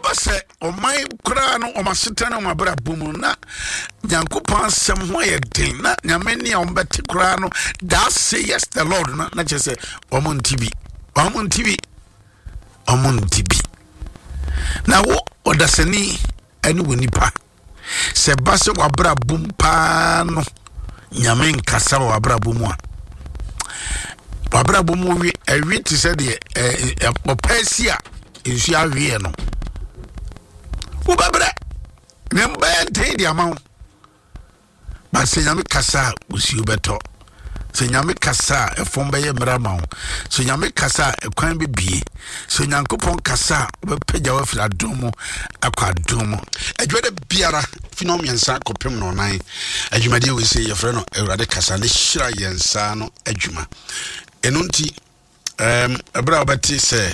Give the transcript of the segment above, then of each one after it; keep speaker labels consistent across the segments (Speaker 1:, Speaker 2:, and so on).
Speaker 1: Ɛkɔba sɛ ɔman koraa no wɔn asetena ne wɔn abrabɔ mu na Nyankopɔn asɛm ho ayɛ den na Nyame ne a wɔbɛte koraa no that say yes the Lord no na kyerɛ sɛ wɔn nte bi wɔn nte bi wɔn nte bi na wo ɔdasani ɛne wɔ nipa sɛ ba sɛ w'abrabɔ mu paa no Nyame nkasa wɔ w'abrabɔ mu a w'abrabɔ mu we ɛwe te sɛ deɛ ɛɛ ɔpɛ si a nsuo aweɛ no wobɛbrɛ na mbɛyɛ den de ama wo ba sɛ Nyame kasa a nsuo bɛtɔ sɛ Nyame kasa a ɛfam bɛyɛ mmerɛ ama wo sɛ Nyame kasa a ɛkwan bɛbie sɛ Onyankopɔn kasa a wobɛpagya wo afiri adom mu akɔ adom mu adwuma da biara fi no mmiɛnsa kɔpem no ɔnan adwumadeɛ wei sɛ yɛfrɛ no Awurade kasa ne hyira yɛn nsa no adwuma ɛno nti Um, ɛberɛ a wobɛte sɛ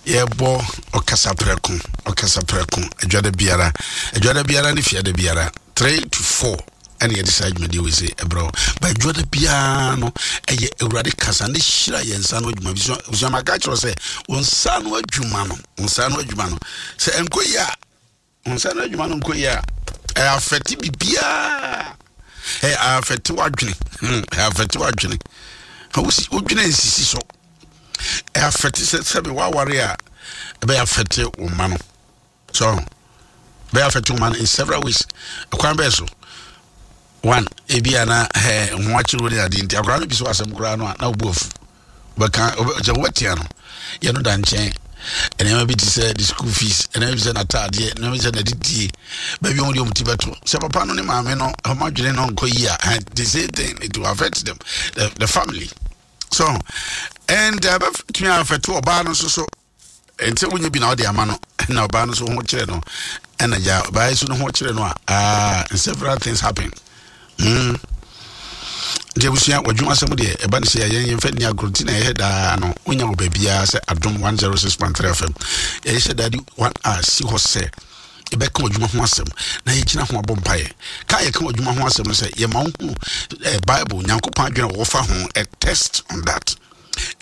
Speaker 1: yɛbɔ ɔkasa prɛko ɔkasa prɛko adwada biara adwada biara ne fiada biara 3 to 4 ɛne yɛde saa adwumadeɛ wei sɛ ɛberɛ wo ba adwada biara no ɛyɛ awurade kasa ne hyira yɛn nsa no adwuma busua maka kyerɛ sɛ wo nsa no adwuma no wo nsa no adwuma no sɛ ɛnkɔ yie a Wo nsa no adwuma no nkɔ yie a, ɛyɛ afɛte biribiara. Ɛyɛ afɛte w'adwene. Hmm, ɛyɛ afɛte w'adwene. Wosi wodwene nsisi so. Ɛyɛ afɛte sɛ sɛbi waware a ɛbɛyɛ afɛte wo mma no. So ɛbɛyɛ afɛte wo mma no in several ways. Ɛkwan bɛyɛ so. One, ebi a na ɛɛ ho akyerɛ wo ne adeɛ nti akwadaa no bi so asɛm koraa no a na obu afu. Wobɛka sɛ wobɛtea no yɛ no da nkyɛn nneɛma bi te sɛ the school fees nneɛma bi te sɛ n'ataadeɛ nneɛma bi te sɛ n'adidie baabi wɔn de wɔn ti bɛto sɛ papa no ne maame no wɔn adwene no nkɔ yie a the same thing it will affect them the family so and ɛbɛtumi uh, affect ɔbaa no nso so Ɛnti sɛ wonyɛ bi na wode ama no na ɔbaa no so ho kyerɛ no ɛna gya ɔbaa yi so no ho kyerɛ no a ah several things happen mm nti abusua wadwuma asɛm deɛ ɛba ne sɛ yɛn yɛmfa nni agorɔ nti na ɛyɛ daa no wonya wɔ baabiara sɛ adom 106.3 fm yɛhyɛ daa di one a si hɔ sɛ yɛbɛka w'adwuma ho asɛm na yɛgyina ho abɔ mpaeɛ ka yɛka w'adwuma ho asɛm no sɛ yɛma wo hu eh, bible nyankopɔn adwene a wɔfa ho a test on that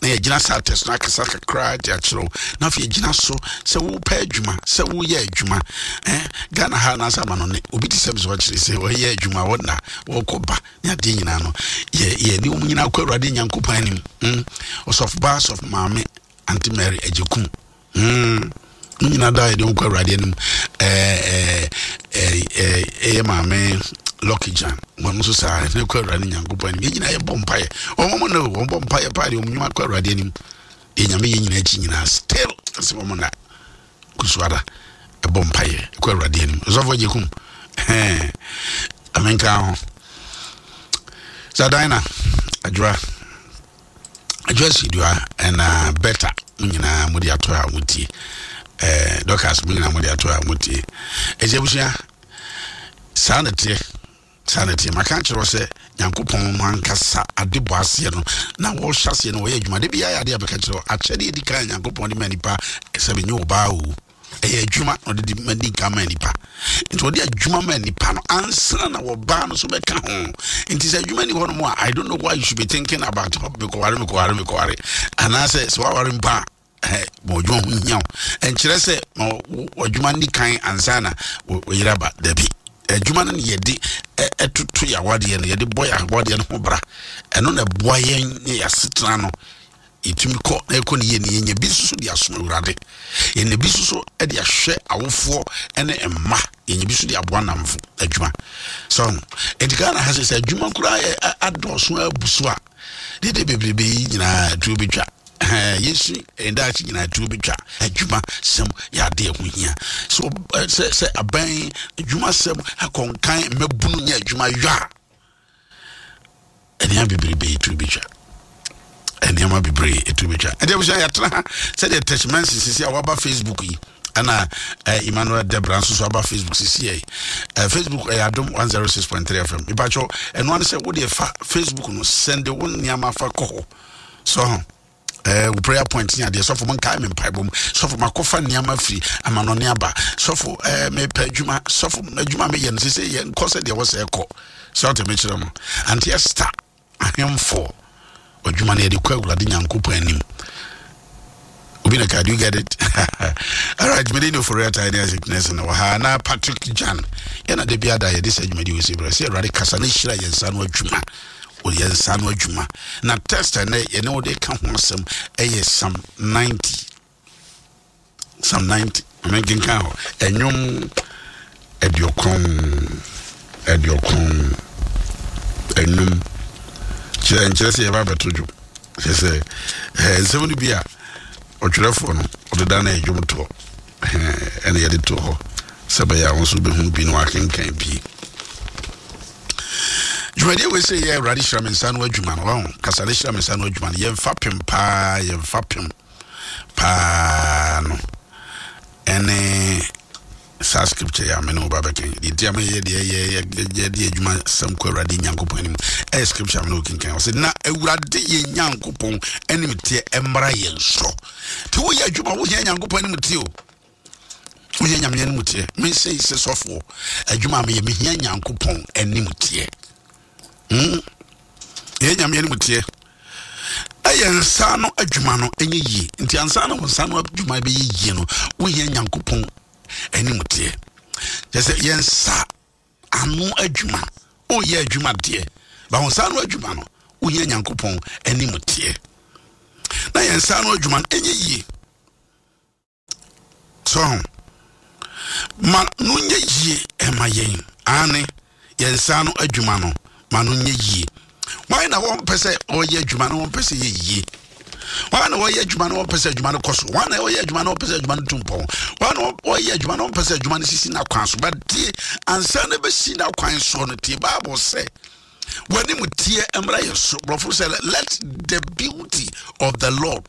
Speaker 1: na yɛgyina saa test no akasa kakra de akyerɛ wo na afei yɛgyina so sɛ wopɛ adwuma sɛ woyɛ adwuma eh, ghana ha anaasɛ ama no ne obi te sɛ me sɛ ɔkyerɛ sɛ ɔyɛ adwuma wɔna wɔkɔ ba ne adeɛ nyinaa no yɛne wɔn nyinaa kɔ awurade nyankopɔn anim mm. ɔsɔfo ba sɔfo maame ante mary agyekum Mm. Mo nyinaa da yɛde nkɔ awurade anim. Ɛyɛ maame Lucky Jan. Wɔn nso saa yɛde kɔ awurade Nyankopɔn anim. Yɛn nyinaa yɛbɔ mpaeɛ. Wɔn mo no wɔn bɔ mpaeɛ paa deɛ wɔn nnwuma kɔ awurade anim. Deɛ nyame yɛ nyinaa akyi nyinaa still ɛsɛ wɔn na kusuada ɛbɔ mpaeɛ kɔ awurade anim. Ɔsɔfo agye kum. Ɛɛ amenka ho. Zadina Adwoa. Joyce Dua ɛna Beta mo nyinaa mo de ato a mo tie ɛɛ Dorcas mo nyinaa mo de ato a mo tie ɛsɛ abusua saa na teɛ saa na teɛ maka akyerɛ sɛ nyankopɔn no ankasa ade bɔ aseɛ no na wɔhyɛ aseɛ no wɔyɛ adwuma de biara yɛ adeɛ a bɛka kyerɛ akyɛdeɛ di kan nyankopɔn de ma nipa sɛ bɛnyɛ ɔbaa o ɛyɛ adwuma na ɔde di ma di nka ma nipa nti ɔde adwuma ma nipa no ansa na wɔbaa no so bɛka ho nti sɛ adwuma ni hɔ nom a i don't know why you should be thinking about mekɔware mekɔware mekɔware anaasɛ sɛ waware mpo a eh, ma ɔdwuma ho hia wo ɛnkyerɛ sɛ ma ɔdwuma ni kan ansa na wɔyere aba dabi adwuma no ne yɛde ɛtoto yɛ awadeɛ no yɛde bɔ yɛ awadeɛ no ho bra ɛno na ɛboa yɛn ne yɛasetena no Yɛtumi kɔ na yɛkɔ ne yie no, yɛnya bi nso so de asom Awurade. Yɛnya bi nso so de ahwɛ awofoɔ ne mma. Yɛnya bi nso de aboa nnamfo adwuma. So, nti Ghana ha sɛ sɛ adwuma koraa yɛ adɔɔso abu so a, dede bebrebe yi nyinaa tuo bɛtwa. Yɛsu daakye nyinaa tuo bɛtwa. Adwuma sɛm yɛ adeɛ ho hia. So, sɛ sɛ aban adwuma sɛm akɔnkan mmabunu nyɛ adwuma yɔ a, nneɛma bebrebe etu betwa nneɛma bebree etu betwa ɛdi abusua yɛatena ha sɛdeɛ tɛsimansi sisi a waba facebook yi ɛna eh, emmanuel debra nso so aba facebook sisi yɛ eh, facebook ɛyɛ adom 106.3 fm mipatwɔ ɛno ano sɛ wodeɛ fa facebook no sɛnde wo nneɛma fa kɔ hɔ so ho Eh, wo prayer point ne adeɛ sɔfo mo nkae me mpaebɔ mu sɔfo makɔfa nneɛma firi amanɔne aba sɔfo eh, mepɛ adwuma sɔfo adwuma meyɛ no sɛ sɛ yɛ nkɔ sɛ deɛ wɔ sɛ ɛkɔ sɛ ɔte mekyerɛ mo ante ɛsta ahemfo adwuma no yɛde kɔ awurade nyankopɔn anim obi na ka do you get it? All right. Alright, mede ne ofori atae ne Isaac Nelson wɔ ha na Patrick Jan. Yɛn na da bi ada yɛde sɛ dwumadi wɔ si berɛ sɛ Awurade kasa ne hyira yɛn nsa no adwuma. Wɔ yɛn nsa no adwuma. Na text ɛnɛ yɛne wode ka ho asɛm ɛyɛ Psalm 90. Psalm 90. Ame nkenkan hɔ. Ɛnwom 90 95. Kyerɛ nkyerɛ sɛ yɛba abɛto dwom. Kyerɛ sɛ ɛɛ nsɛm no bi a ɔtwerɛfoɔ no ɔde da no ɛdwom toɔ ɛna yɛde to hɔ sɛ bɛyɛ a wɔn nso bɛhu bi na wɔakenkan bi. Dwumadie wei sɛ yɛ Awurade hyira me nsa no adwuma no wɔn kasa ne hyira me nsa no adwuma no yɛmfa pem paa yɛmfa pem paa no ɛne saa scripture yɛ amene wo ba bɛkan deɛ nti a meyɛ deɛ yɛ yɛde adwuma sɛm kɔ Awurade Nyankopɔn anim ɛyɛ scripture amene wo kenkan ɔsɛ na Awurade yɛ Nyankopɔn anim teɛ ɛmmra yɛn so. Nti woyɛ adwuma wohia Nyankopɔn anim teɛ o, wohia Nyame anim teɛ. Me sɛ sɛ sɔfoɔ adwuma a meyɛ mehia Nyankopɔn anim teɛ. Yɛ Nyame anim teɛ ɛyɛ nsa no adwuma no ɛnyɛ yie. Nti ansa na wo nsa no adwuma bɛyɛ yie no wohia Nyankopɔn anim teɛ. Kyerɛ sɛ yɛn nsa ano adwuma woyɛ adwuma deɛ ba wo nsa ano adwuma no wohia Nyankopɔn anim teɛ na yɛn nsa ano adwuma no ɛnyɛ yie. So ma no nyɛ yie ɛma yɛn ane yɛn nsa ano adwuma no ma no nyɛ yie. Wɔn na wɔn pɛ sɛ ɔyɛ adwuma no wɔn pɛ sɛ yɛ yie. Wɔn na wɔyɛ adwuma no wɔn pɛ sɛ adwuma no kɔ so. Wɔn na wɔyɛ adwuma no wɔn pɛ sɛ adwuma no tu mpɔn. Wɔn na wɔyɛ adwuma no wɔn pɛ sɛ adwuma no sisi n'akwan so. But tie ansa na bɛsi n'akwan so no tie Bible sɛ wɔn anim teɛ mmra yɛ so. Borɔfo sɛ let the beauty of the Lord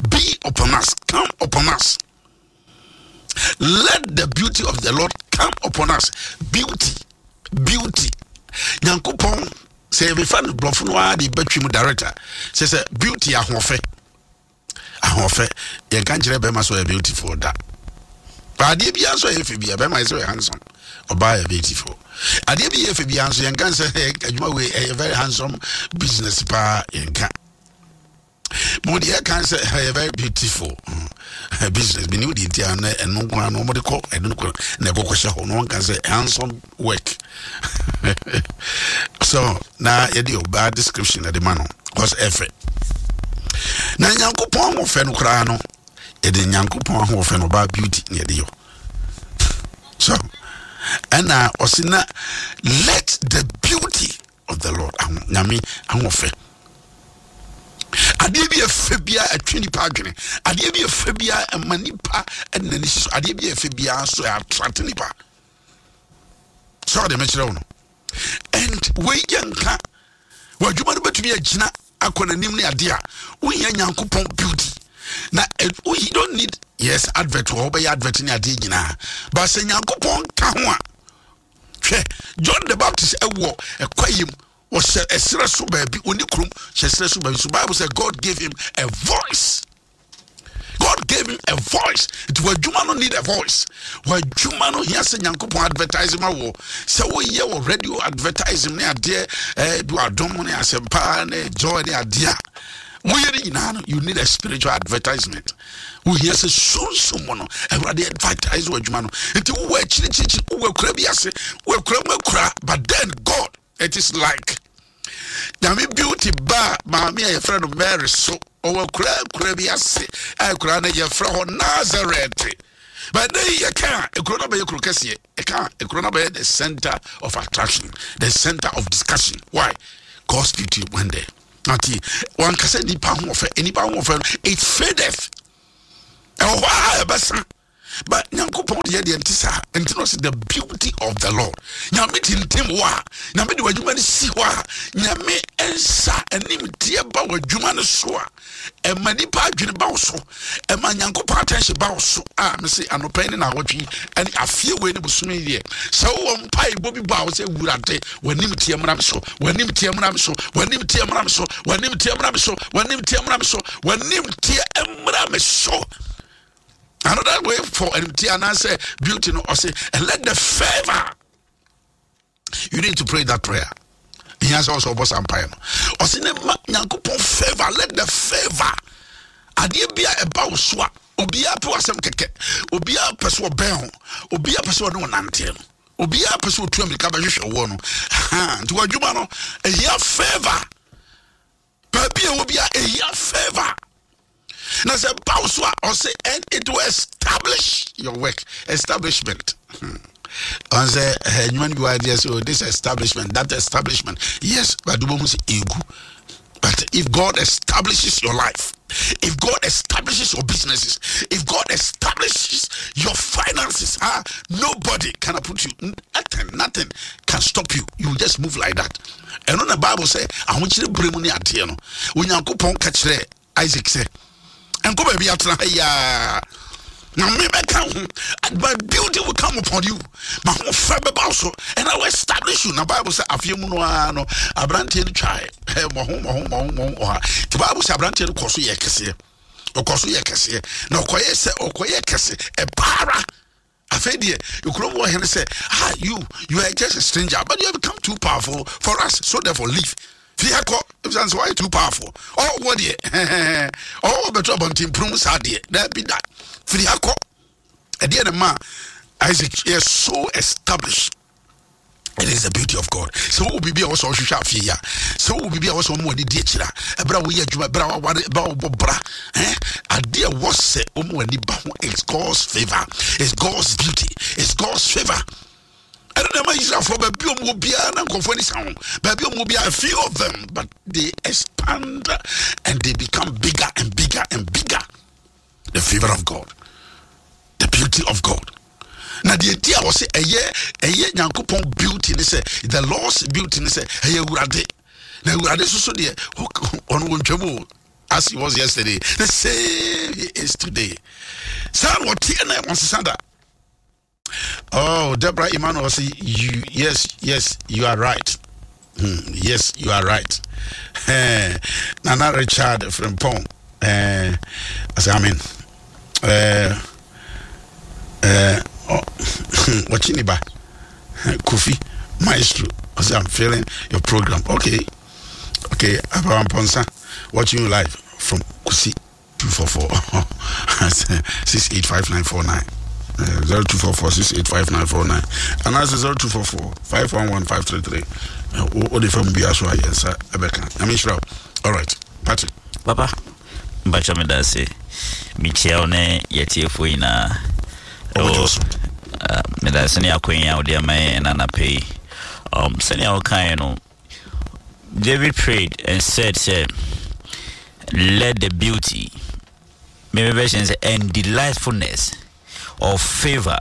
Speaker 1: be upon us, come upon us. Let the beauty of the Lord come upon us. Beauty, beauty. Nyankopɔn sɛ yɛbɛfa no borɔfo no ara de bɛtwi mu director sɛ sɛ beauty ahoɔfɛ ahoɔfɛ yɛnka nkyerɛ bɛrima sɛ ɔyɛ beautiful da. Adeɛ biara nso ɛyɛ fɛ biara bɛrima yɛ sɛ ɔyɛ handsome, ɔbaa yɛ beautiful. Adeɛ bi yɛ fɛ biara nso yɛnka sɛ adwuma wei ɛyɛ very handsome business paa yɛnka. Mo deɛ ɛka sɛ ɛyɛ very beautiful business bi ne wo deɛ nti a na ɛno nko ara no wɔde kɔ ɛno nko na ɛkɔkɔ hyɛ hɔ na wɔnka sɛ handsome work. So na yɛde ɔbaa description ɛde ma no cause ɛfɛ na Nyankopɔn ahoɔfɛ no koraa no yɛde Nyankopɔn ahoɔfɛ no ɔbaa beauty na yɛde yɔ. So ɛna ɔsi na let the beauty of the Lord aho Nyame ahoɔfɛ. Adeɛ bi ɛfɛ bia ɛtwe nipa adwene. Adeɛ bi ɛfɛ bia ɛma nipa ɛde n'ani si so. Adeɛ bi ɛfɛ bia nso ɛattract nipa. Sɛ ɔde mekyerɛ wo no. And wei yɛ nka w'adwuma no bɛtumi agyina akɔ n'anim ne adeɛ a wohia Nyankopɔn beauty. Na you don't need yes advert wɔ wobɛyɛ advert ne adeɛ nyinaa. But sɛ Nyankopɔn ka ho a hwɛ John the Baptist ɛwɔ ɛkwa yam wɔhyɛ ɛserɛ so baabi ɔni kurom hyɛ ɛserɛ so baabi. So Bible said God gave him a voice. God gave him a voice. Nti w'adwuma no need a voice. W'adwuma no hia sɛ Nyankopɔn advertising ma wɔ. Sɛ woyɛ wɔ radio advertising ne adeɛ bi wɔ adom ne asɛmpa ne joy ne adeɛ a woyɛ ne nyinaa no you need a spiritual advertisement. Wohia sɛ sunsum mu no Awurade advertise w'adwuma no. Nti wowɔ akyirikyirikyiri wowɔ akura bi ase wowɔ akura mu akura but then God it is like Nyame beauty ba maame a yɛfrɛ no Mary so ɔwɔ akura akura bi ase a akura no yɛfrɛ hɔ Nazareth. But then yɛka akura no bɛyɛ kuro kɛseɛ yɛka akura no bɛyɛ the center of attraction, the center of discussion. Why? God's beauty went there. Nti wankasa nipa ahoɔfɛ nipa ahoɔfɛ no it fadeth ɛwɔ hɔ a ɛbɛsa. But Nyankopɔn deɛ deɛ nti saa nti no sɛ the beauty of the Lord Nyame tintim wɔ a Nyame de w'adwuma no si hɔ a Nyame nsa anim teɛ ba w'adwuma no so a ɛma nipa adwene ba wo so ɛma Nyankopɔn attention ba wo so a mese anɔpɛ ne naawɔtwe ɛne afie wei ne bosome deɛ sɛ wowɔ mpaebɔ bi bɔ a wo sɛ Wurade w'anim teɛ mmra me so w'anim teɛ mmra me so w'anim teɛ mmra me so w'anim teɛ mmra me so w'anim teɛ mmra me so w'anim teɛ mmra me so. Another way for animtia and I say beauty no or say and let the favor. You need to pray that prayer. He has also boss empire. Or say Nyankopɔn favor, let the favor. Adeɛ bi a ɛba wo so a Obiara pɛ w'asɛm kɛkɛ. Obiara pɛ sɛ ɔbɛn ho. Obiara pɛ sɛ ɔne wo nanteɛ no. Obiara pɛ sɛ ɔtu amirika bɛhwehwɛ woɔ no. Nti w'adwuma no, ɛhia favor. Baabi a ɛwɔ biara, ɛhia favor. Na sɛ ba wo so a, ɔse and it will establish your work. Establishment. Ɔn sɛ nnwuma no bi wɔ adeɛ sɛ oh, this establishment, that establishment. Yes, but wobɛhu sɛ ɛgu. But if God establishes your life, if God establishes your businesses, if God establishes your finances, nobody can put you. Nothing, nothing can stop you. You just move like that. And on the Bible say, ahokyere bere mu ne adeɛ no, Onyankopɔn ka kyerɛ Isaac sɛ, nkɔ baabi atena ha yi na me bɛka ho, and my beauty will come upon you, ma ho fɛ bɛba wo so, and I will establish you. Na Bible sɛ afeɛ mu no ara no, aberanteɛ no twae mmɔho mmɔho mmɔho mmɔho ɔha. Nti Bible sɛ aberanteɛ no kɔ so yɛ kɛseɛ, ɔkɔ so yɛ kɛseɛ, na ɔkɔyɛ sɛ ɔkɔyɛ kɛse ɛpaara. Afei deɛ ekurom wɔ hene sɛ, ah, you are just a stranger, but you have become too powerful for us, so therefore leave. Fi ha kɔ, efisɛ sɛ wayɛ too powerful. Ɔwɔ deɛ, ɔwɔ bɛto abɔnten pono mu saa deɛ, daabi da. Firi ha kɔ. Ɛdeɛ na ma Isaac yɛ so established. It is the beauty of God. Sɛ wowɔ biribi a wɔsɛ ɔhwehwɛ afei yi a, sɛ wowɔ biribi a wɔsɛ ɔmo ani di akyire a, ɛberɛ a woyɛ adwuma, ɛberɛ a waware, ɛberɛ a wobɔ bra, adeɛ a ɛwɔ sɛ ɔmo ani ba ho is God's favor, is God's beauty, is God's favor. Ɛno na ɛma Israelfoɔ baabi a ɔmo wɔ biara na nkurɔfoɔ ani sa ho, baabi a ɔmo wɔ biara, a few of them, but they expand and they become bigger and bigger and bigger. The favor of God, the beauty of God. Na deɛ nti a wɔsɛ ɛyɛ Nyankopɔn beauty ne sɛ, the Lord's beauty ne sɛ ɛyɛ Awurade. Na Awurade soso deɛ ɔno wɔntwam o, as he was yesterday, the same he is today. Saa na ɔteɛ na ɔnsesa da. Oh, Deborah Emmanuel say you, yes, yes, you are right. Yes, you are right. Nana Richard Frimpong. I say amen. Oh, watching ba Kofi Maestro. I say I'm feeling your program. Okay, okay. Abraham Ponsa watching you live from Kusi. 244 685949 0244 685949 anaasɛ 0244 511533. Wode fa mu bia so a yɛn nsa ɛbɛka. Nyame nhyira wo. All right, Patrick.
Speaker 2: Papa, mpakyɛ meda ase. Mekyia wo ne yɛtiefoɔ nyinaa.
Speaker 1: Ɔbɛgye wo so.
Speaker 2: Meda ase ne akwanya a wode ama yɛn ɛna anapɛ yi. Sɛnea wokaeɛ no, David prayed and said, sɛ, let the beauty, maybe version say, and delightfulness of favor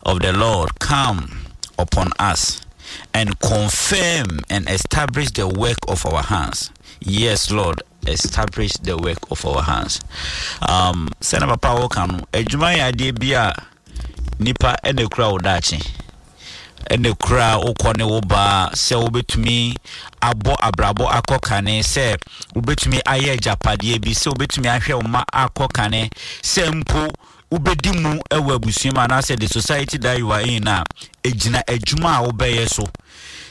Speaker 2: of the Lord come upon us and confirm and establish the work of our hands. Yes, Lord, establish the work of our hands. Sɛnɛ papa wo ka no, adwuma yɛ adeɛ bi a nipa ɛna ekura wo daakye, ɛna ekura wokɔ ne wo ba, sɛ wobɛtumi abɔ abrabɔ akɔ kane, sɛ wobɛtumi ayɛ agyapadeɛ bi, sɛ wobɛtumi ahwɛ wo ma akɔ kane, sɛ mpo wobɛdi mu ɛwɔ abusua mu anaasɛ the society that you are in a, egyina adwuma a wobɛyɛ so.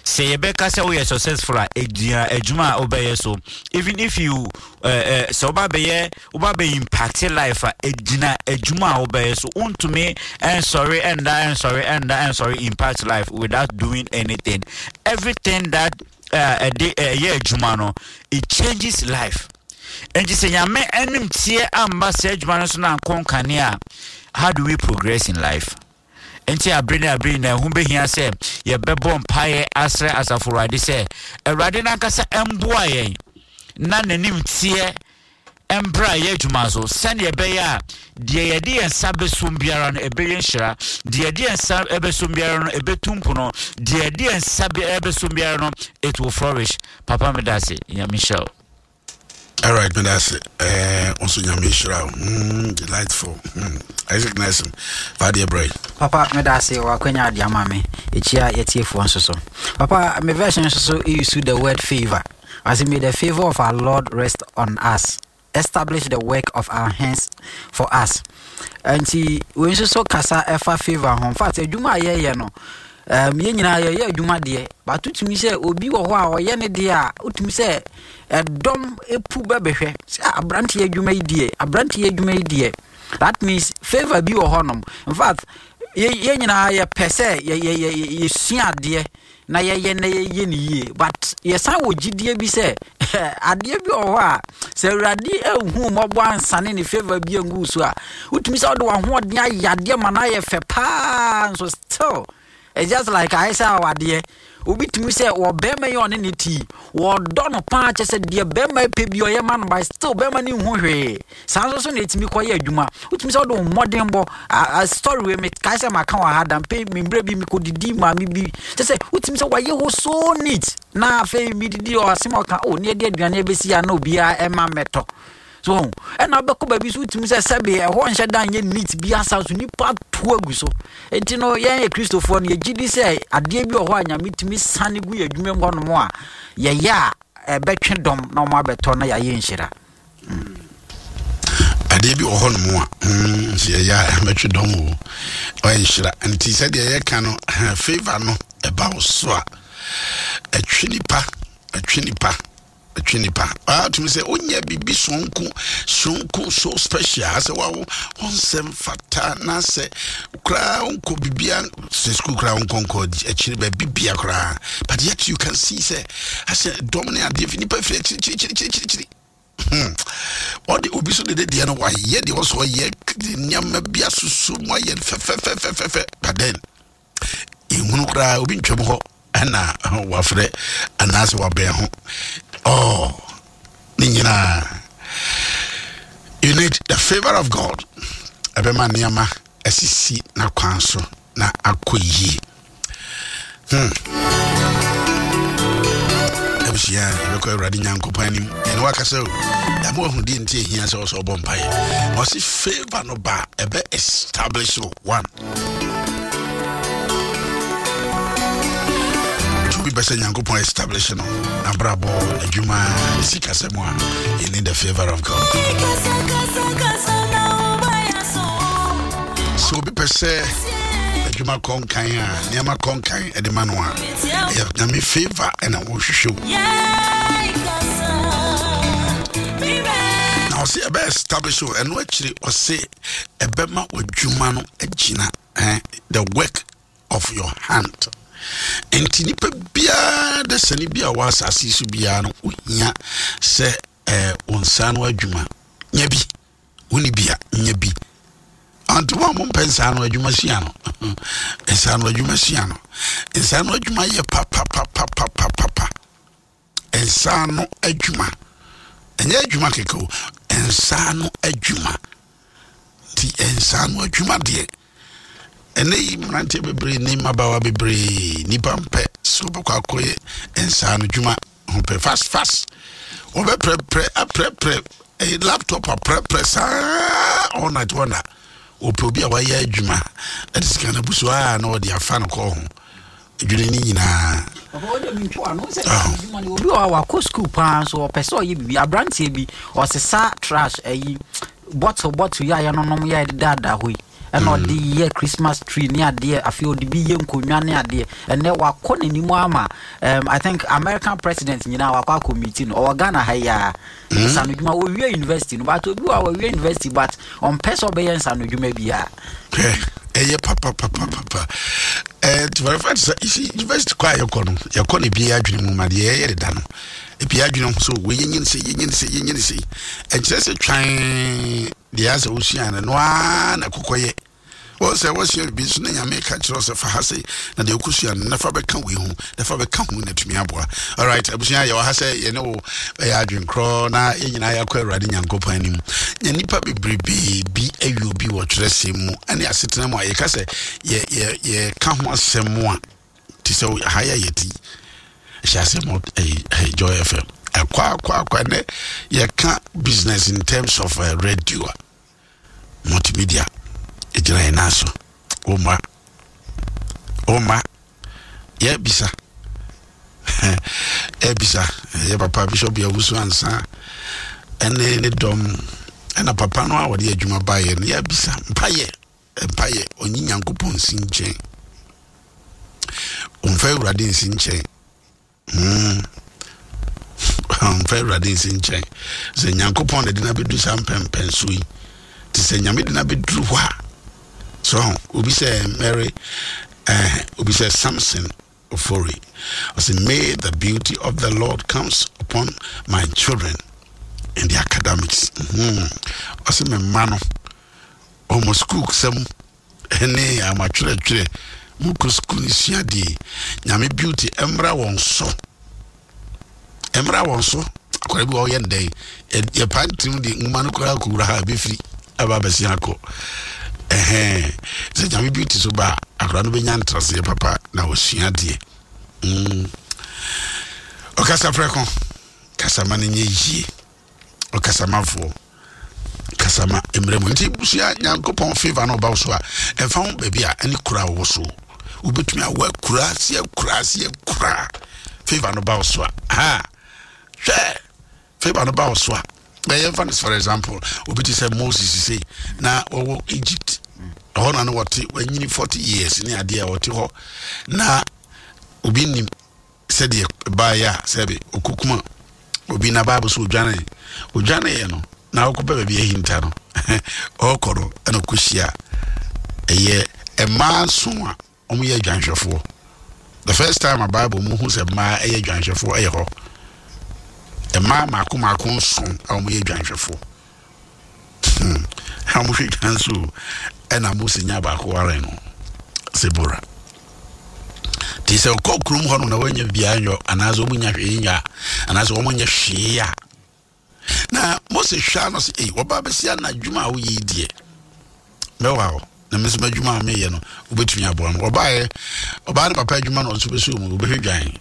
Speaker 2: Sɛ yɛbɛka sɛ woyɛ successful a, egyina adwuma a wobɛyɛ so. Even if you sɛ woba bɛyɛ, woba bɛ impact life a, egyina adwuma a wobɛyɛ so. Wontumi ɛnsɔre ɛnda, ɛnsɔre ɛnda, ɛnsɔre impact life without doing anything. Everything that ɛde ɛyɛ adwuma no, it changes life. Nti sɛ Nyame anim teɛ amba saa adwuma no so na ankɔ nkane a, how do we progress in life? Nti abere ne abere nyinaa ɛho behia sɛ yɛbɛbɔ mpaeɛ asrɛ asafo Awurade sɛ Awurade n'ankasa mboa yɛn na n'anim teɛ mbra yɛ adwuma so, sɛnea ɛbɛyɛ a deɛ yɛde yɛn nsa bɛsom biara no ɛbɛyɛ nhyira, deɛ yɛde yɛn nsa bɛsom biara no ɛbɛtu mpono, deɛ yɛde yɛn nsa bɛsom biara no it will flourish. Papa, meda ase. Nyame nhyira wo.
Speaker 1: All right, meda ase. Nso Nyame nhyira wo. Delightful. Isaac Nelson, fa adeɛ brɛ.
Speaker 3: Papa, meda ase wɔ akwanya ade ama me. Ekyia yɛtiefoɔ nso so. Papa, me version nso so use the word favor. I say, may the favor of our Lord rest on us. Establish the work of our hands for us. Nti, wei nso so kasa ɛfa favor ho. In fact, adwuma a yɛyɛ no, yɛn nyinaa yɛyɛ adwuma deɛ, but wotumi sɛ obi wɔ hɔ a ɔyɛ ne deɛ a, wotumi sɛ ɛdɔm epu bɛbɛhwɛ sɛ aberanteɛ adwuma yi deɛ, aberanteɛ adwuma yi deɛ. That means favour bi wɔ hɔnom. In fact, yɛn nyinaa yɛpɛ sɛ yɛsua adeɛ na yɛyɛ na yɛyɛ no yie, but yɛsan wɔ gyidie bi sɛ adeɛ bi wɔ hɔ a sɛ Awurade anhu mmɔbɔ ansane ne favour bi angu so a, wotumi sɛ wode w'ahoɔden ayɛ adeɛ ma no ayɛ fɛ paa nso still it's just like ayɛ sɛ awadeɛ. Obi tumi sɛ wɔ bɛrima yi ɔne ne ti wɔdɔ no paa, kyɛ sɛ deɛ bɛrima pɛ bi ɔyɛ ma no, but still bɛrima no nhu hwee. Saa nso so na ɛtumi kɔyɛ adwuma. Wotumi sɛ wode wo mmɔden bɔ a story wei mekae sɛ maka wɔ ha da mpe mmerɛ bi mekɔdidi maame bi, kyɛ sɛ wotumi sɛ wayɛ hɔ so neat, na afei medidi ɔasɛm ɔka o ne ɛde aduane abɛsi a na obiara ɛma mmɛtɔ so ho. Ɛna wobɛkɔ baabi so wotumi sɛ sɛbe ɛhɔ nhyɛ da nyɛ neat bi asa so nipa to agu so. Nti no yɛn yɛ Kristofoɔ no yɛgye di sɛ adeɛ bi wɔ hɔ a Nyame tumi sane gu yɛ adwuma mu hɔnom a yɛyɛ a ɛbɛtwe dɔm na wɔn abɛtɔ na yɛayɛ nhyira.
Speaker 1: Adeɛ bi wɔ hɔnom a sɛ yɛyɛ a ɛbɛtwe dɔm o, ɔyɛ nhyira. Nti sɛdeɛ yɛka no, favor no ɛba wo so a ɛtwe nipa, ɛtwe nipa, ɛtwe nipa. Atumi sɛ wonyɛ biribi sononko sononko, so special sɛ wawo wo nsɛm fata na sɛ koraa wonkɔ biribia sɛ sukuu koraa wonkɔnkɔ akyiri baabi bia koraa, but yet you can see sɛ asɛ dɔm ne adeɛ fi nipa firi akyirikyirikyirikyirikyiri. Ɔde obi so dede deɛ no wayɛ deɛ ɔsɔ ɔyɛ nneɛma bi asusu mu ayɛ fɛfɛfɛfɛfɛ, but then ehunu koraa obi ntwam hɔ ɛna wafrɛ anaasɛ wabɛn ho. Oh, ne nyinaa you need the favour of God. Ɛbɛma nneɛma asisi n'akwan so na akɔ yie. Abusua, yɛbɛkɔ Awurade Nyankopɔn anim ɛne wakasa o. Ɛma wahu deɛ nti ɛhia sɛ ɔsɛ ɔbɔ mpaeɛ. Ɔse favor no ba ɛbɛ establish one obi bɛ sɛ Nyankopɔn establish no nabrabɔ, adwuma, ne sikasɛm a, you need the favor of God. Sɛ obi pɛ sɛ adwuma kɔ nkan a, nneɛma kɔ nkan ɛde ma no a, ɛyɛ Nyame favor ɛna wɔhwehwɛ o. Na ɔse ɛbɛ establish o. Ɛno akyiri ɔse ɛbɛma w'adwuma no agyina, the work of your hand. Nti nipa biara de sɛne bi a wɔ asase so biara no, ohia sɛ wo nsa no adwuma nya bi. Woni bi a, nya bi. Anti wɔn a mompɛ nsa ano adwuma sua no, nsa ano adwuma sua no, nsa ano adwuma yɛ papapapapapa. Nsa ano adwuma ɛnyɛ adwuma kɛkɛ o, nsa ano adwuma. Nti nsa ano adwuma deɛ, ɛnɛ yi mmeranteɛ bebree ne mmabaawa bebree, nipa mpɛ sɛ wɔbɛkɔ akɔyɛ nsa ano adwuma ho pɛ fast fast. Wɔbɛprɛprɛ aprɛprɛ ɛyɛ laptop aprɛprɛ saa all night. Wɔn na wɔpɛ obi a wayɛ adwuma ɛde sika no abu so a na wɔde afa no kɔɔ ho adwene ne nyinaa.
Speaker 3: Obi wɔ hɔ a wakɔ sukuu paa nso ɔpɛ sɛ ɔyɛ biribi. Aberanteɛ bi ɔsesa trash ayi bottle bottle yi a yɛnonom yɛ daadaa hɔ yi, ɛna ɔde yɛ Christmas tree ne adeɛ. Afei ɔde bi yɛ nkonnwa ne adeɛ. Ɛnɛ wakɔ n'anim ama I think American president nyinaa wakɔ akɔ meeting no. Ɔwɔ Ghana ha yi a nsanodwuma ɔwie university no, but obi wɔ a wɔwie university but ɔmpɛ sɛ ɔbɛyɛ nsanodwuma biara.
Speaker 1: Ɛyɛ papapapapa. To verify sɛ isi university kɔ a yɛkɔ no, yɛkɔ no ebi adwene mu ma deɛ yɛyɛ deda no ebi adwene ho so wɔ yɛnyini sɛ yɛnyini sɛ yɛnyini sɛ ɛnkyerɛ sɛ twan deɛ asɛ wosua no no ara na kɔkɔ yɛ wɔn sɛ wɔsua biribi nso na Nyame ka kyerɛ sɛ fa ha sei na deɛ wokɔsua no na fa bɛka wei ho na fa bɛka ho na tumi aboa. Alright, abusua, yɛwɔ ha sɛ yɛne wo bɛyɛ adwenkorɔ na yɛn nyinaa yɛakɔ Awurade Nyankopɔn anim. Na nnipa bebrebee bi awie obi wɔ twerɛsɛm mu ne asetena mu a yɛka sɛ yɛka ho asɛm mu a te sɛ ha yɛ yɛti ɛhyɛ ase mɔ ɛyɛ Joy FM ɛkɔ akɔ akɔ. Ɛnɛ yɛka business in terms of radio a multimedia ɛgyina yɛn nan so. Woma woma yɛbisa ɛbisa yɛ papa Bishop Yawusu ansa ɛne ne dɔm ɛna papa no a wɔde adwuma baeɛ no, yɛbisa mpayɛ mpayɛ ɔnyi Nyankopɔn nsi nkyɛn, ɔmfa Awurade nsi nkyɛn. Ɔmfa Awurade nsi nkyɛn sɛ Nyankopɔn na de no abɛdu saa mpɛmpɛnso yi. Te sɛ Nyame de no abɛduru hɔ a, so ho, obi sɛ Mary, eh, obi sɛ Samson Ofori. Ɔsɛ, may the beauty of the Lord comes upon my children in the academics. Ɔsɛ me mma no, ɔmo sukuu sɛm ne amatwerɛtwerɛ mu kɔ sukuu no sua deɛ, Nyame beauty mmra wɔn so. Mmra wɔn so. Akwadaa bi wɔ ɔyɛ no dɛn? Yɛpa ntirim de nwoma no koraa kɔwura ha bɛfiri aba abɛsi akɔ. Ɛhɛn. Sɛ Nyame beauty so ba a, akwadaa no bɛnya ntraseɛ papa na wɔsua deɛ. Ɔkasa prɛko, kasa ma no nyɛ yie. Ɔkasamafoɔ, kasa ma mmerɛ mu. Nti sua Nyankopɔn favor na ɔba wo so a, ɛmfa ho baabi a ɛne kura a wɔwɔ so. Wobɛtumi awɔ akura ase akura ase akura. Favor no ba wo so a, ha, hwɛ, favor no ba wo so a, bɛyɛ mfa no for example, obi te sɛ Moses sei, na wɔwɔ Egypt, ɛhɔ na no wɔte, wanyini 40 years ne adeɛ a wɔte hɔ, na obi nim sɛdeɛ ɛbaeɛ a sɛbe ɔkɔkum obi na Bible so ɔdwane ɔdwaneeɛ no na ɔkɔpɛ baabi ahinta no ɔkɔ no ɛna ɔkɔhyia ɛyɛ mmaa nson a wɔyɛ adwanhwɛfoɔ. The first time a Bible mu hu sɛ mmaa ɛyɛ adwanhwɛfoɔ ɛyɛ hɔ. Mmaa mako mako nson a wɔyɛ adwanhwɛfoɔ. A wɔhwɛ dwan so ɛna Mose nya baako ware no Sebora. Nti sɛ ɔkɔ kurom hɔ no na wɔnyɛ biribiara nyɔ anaasɛ wɔn nya hwee nyɔ a anaasɛ wɔn nyɛ hwee a na Mose hwɛ ano sɛ ei wɔba bɛsi ana adwuma a woyɛ yi deɛ mɛwa hɔ na me nso m'adwuma a meyɛ no wobɛtumi aboa me. Ɔbaeɛ ɔbaa ne papa adwuma na ɔnso bɛsɛ mu wobɛhwɛ dwan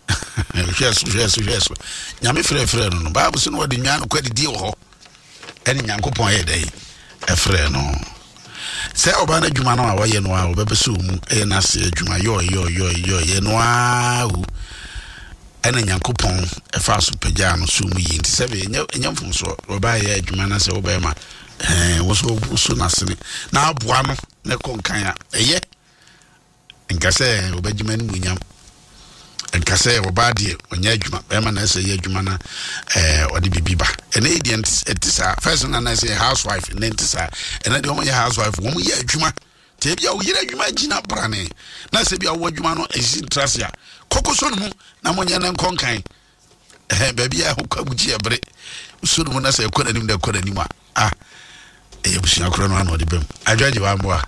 Speaker 1: hwɛ so hwɛ so hwɛ so Nyame frɛfrɛ no no Bible sɛ no wɔde nwan no kɔ adidie wɔ hɔ ɛne Nyankopɔn yɛ dɛn ɛfrɛ no sɛ ɔbaa no adwuma no a wɔyɛ no a wɔbɛbɛ sɛ mu ɛyɛ n'ase adwuma yɔɔ yɔɔ yɔɔ yɔɔ yɛ no ara o ɛna Nyankopɔn ɛfa so pagyaa no so mu yie. Nti sɛ ɛnyɛ ɛnyɛ mfomsoɔ ɔbaa yɛ adwuma no sɛ wobɛma ɛɛ woso woso n'asene na aboa no na ɛkɔ nkan a ɛyɛ nka sɛ ɔbɛgyema no mu nyam nka sɛ ɔbaa deɛ ɔnyɛ adwuma bɛrima na ɛsɛ yɛ adwuma na ɛɛ ɔde biribi ba. Ɛnɛ yi deɛ ɛnte saa. First na na ɛsɛ housewife, ɛnɛ nte saa. Ɛnɛ deɛ wɔn yɛ housewife, wɔn yɛ adwuma. Te ebi a oyere adwuma gyina brane na sɛ bi a wɔwɔ adwuma no esi ntrase a kɔkɔ so no mu na mo nyɛ ne nkɔ nkan. Ɛhɛn baabi a ɛho kɔ agugye ɛbere so no mu na sɛ ɛkɔ n'anim na ɛkɔ n'anim a ah ɛyɛ abusua korɔ no ano ɔde bɛm adwa gye wamboa.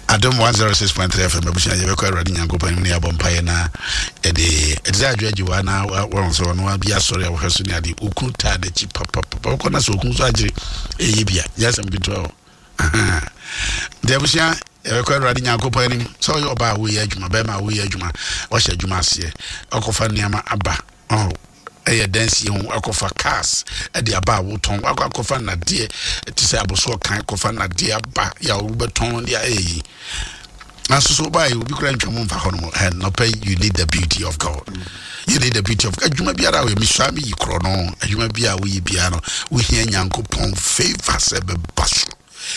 Speaker 1: Adom 106.3 FM abusua yɛbɛkɔ Awurade Nyankopɔn anim na yɛabɔ mpaeɛ na ɛde ɛde sɛ adwo agye wa na wɔn sɛ ɔno bi asɔre a wɔhwɛ so ne ade okunu taa n'akyi papapapa wɔkɔ na sɛ okunu so agyere ɛyɛ bi a nyɛ asɛm ketewa o. Nti abusua yɛbɛkɔ Awurade Nyankopɔn anim sɛ ɔyɛ ɔbaa a woyɛ adwuma bɛrima a woyɛ adwuma ɔhyɛ adwuma aseɛ ɔkɔfa nneɛma aba ɔho ɛyɛ dansie ho akɔfa cars ɛde aba a wotɔn wakɔ akɔfa nnadeɛ te sɛ abosoɔ kan kɔfa nnadeɛ aba yɛ a wobɛtɔn de ayɛ yi nanso so wobaayɛ obi kora ntwa mu mfa hɔ nom ɛ nɔpɛ. You need the beauty of God, you need the beauty of adwuma biara a woyɛ mesua meyi korɔ no adwuma biara a woyɛ biara no wohia Nyankopɔn favor sɛ bɛba so.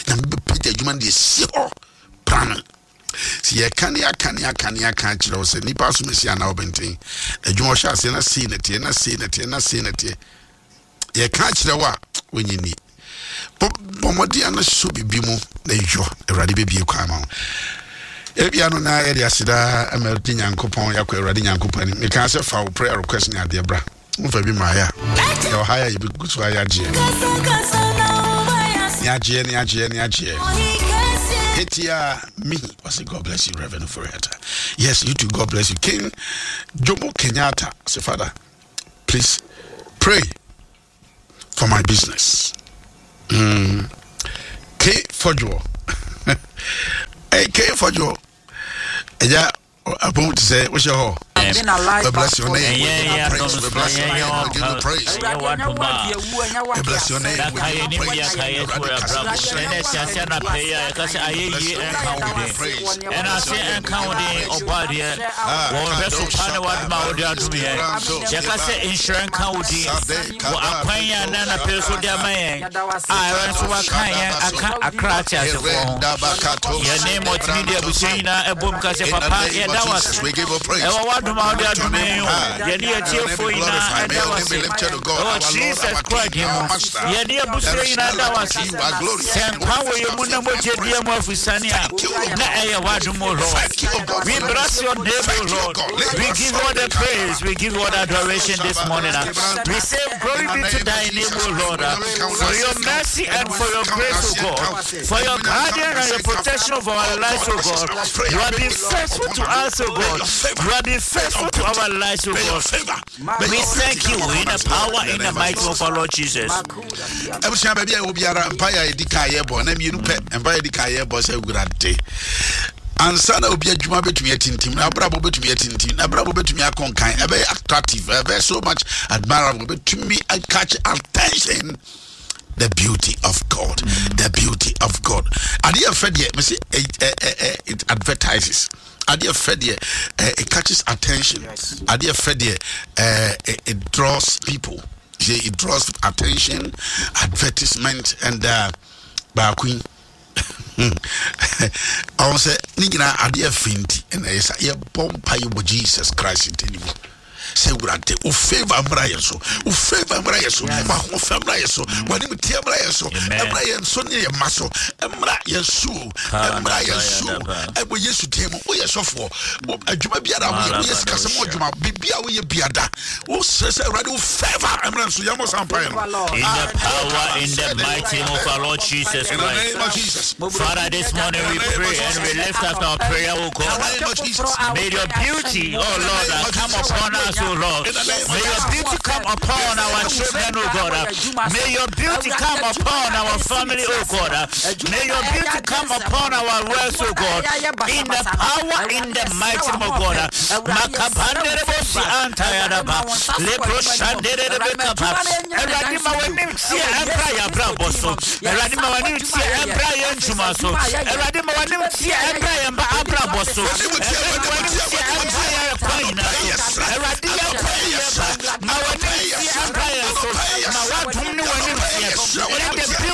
Speaker 1: Nyame bɛpagya adwuma no deɛ si hɔ prame. Sɛ yɛka ne aka ne aka ne aka akyerɛ wo sɛ nnipa asom asi anaa ɔbɛnten adwuma ɔhyɛ aseɛ na sei na teɛ na sei na teɛ na sei na teɛ yɛka akyerɛ wo a wonyi ni. Bɔ mmɔden ano so biribi mu na yɔ Awurade bɛbie kwan ma wo. Ebia no na yɛde aseda ama Awurade Nyankopɔn yɛakɔ Awurade Nyankopɔn anim. Mekaa sɛ fa wo prayer request ne adeɛ bra. Womfa bi mmaeɛ a yɛwɔ ha yɛ yɛbɛgu so ayɛ agyeɛ ne agyeɛ ne agyeɛ ne agyeɛ. Hetia me ɔsɛ God bless you Reverend Ofori-Atta. Yes, you too, God bless you. King Jomo Kenyatta say Father, please pray for my business. K Fojo. Hey, K Fojo. Yeah, apɔn te sɛ wohyɛ hɔ. We bless your name. We give you praise. We bless your name. We give you praise. We bless your name. We give you praise.
Speaker 2: Yɛka sɛ nhyira nka wo din wɔ akwan yi a na anapɛ so de ama yɛn a ɛwɛ nso waka yɛn aka akra ate asefoɔ ho. Yɛne multimedia abusua nyinaa ɛbom ka sɛ papa yɛda wo ase ɛwɔ w'adom. adom a wode adome yɛn o. Yɛne yɛn atiefoɔ nyinaa ɛda wo ase. Ɛwɔ Jesus Christ din mu. Yɛne abusua nyinaa da wo ase. Sɛ nkwa wɔ yɛn mu na mogya di yɛn mu afusane a, na ɛyɛ w'adom o Lord. We bless your name o Lord. We give you all the praise. We give you all the adoration this morning. We say glory be to thy name o Lord. For your mercy and for your grace o God. For your guardian and your protection of our lives o God. You have been faithful to us o God. You have been faithful to our lives o God. We thank you in the power in the might of our Lord Jesus.
Speaker 1: Abusua baabi a ɛwɔ biara mpaeɛ a yɛdi kan yɛbɔ na mmienu pɛ mpaeɛ yɛdi kan yɛbɔ sɛ Awurade ansa na obi adwuma bɛtumi atintim na abrabɔ bɛtumi atintim na abrabɔ bɛtumi akɔ nkan ɛbɛyɛ attractive ɛbɛyɛ so much admirable bɛtumi catch attention the beauty of God the beauty of God adeɛ fɛ deɛ mesi it advertises adeɛ fɛ deɛ it catches attention adeɛ fɛ deɛ it draws people. It draws attention, advertisement, and baako yi ɔn sɛ ne nyinaa adeɛ fɛ nti ɛna ɛyɛ sa yɛbɔ mpa yɛ wɔ Jesus Christ nti ne mu sɛ wurade wo favor mmra yɛn so wo favor mmra yɛn so w'ahoɔfɛ mmra yɛn so w'anim teɛ mmra yɛn so mmra yɛn so ne yɛn mma so mmra yɛn so mmra yɛn so ɛwɔ Yesu din mu woyɛ sɔfoɔ adwuma biara woyɛ woyɛ sikasɛm adwuma biribi a woyɛ biada wosrɛ sɛ awurade wo favor mmra nso yɛmmɔ saa mpaeɛ no
Speaker 2: In the power, in the mighty name of our Lord Jesus
Speaker 1: in the name of
Speaker 2: Christ.
Speaker 1: Jesus
Speaker 2: Father, this morning we pray and we lift up our prayer, O
Speaker 1: in the
Speaker 2: God.
Speaker 1: name of Jesus
Speaker 2: May your beauty, oh Lord, come upon us, oh Lord. May your beauty come upon our children, oh God. May your beauty come upon our family, oh God. May your beauty come upon our works, oh God. In the power, in the mighty name of God. Makapanderebosi antayadaba. Lepro shanderebekapa. Awurade ma w'anim teɛ ɛmbra yɛn abrabɔ so. Awurade ma w'anim teɛ ɛmbra yɛn ntwuma so. Awurade ma w'anim teɛ ɛmbra yɛn ba abrabɔ so. Awurade ma w'anim teɛ ɛmbra yɛn kwan nyinaa so. Awurade yɛn kwan yɛn ba. Ma w'anim teɛ ɛmbra yɛn so. Ma w'adom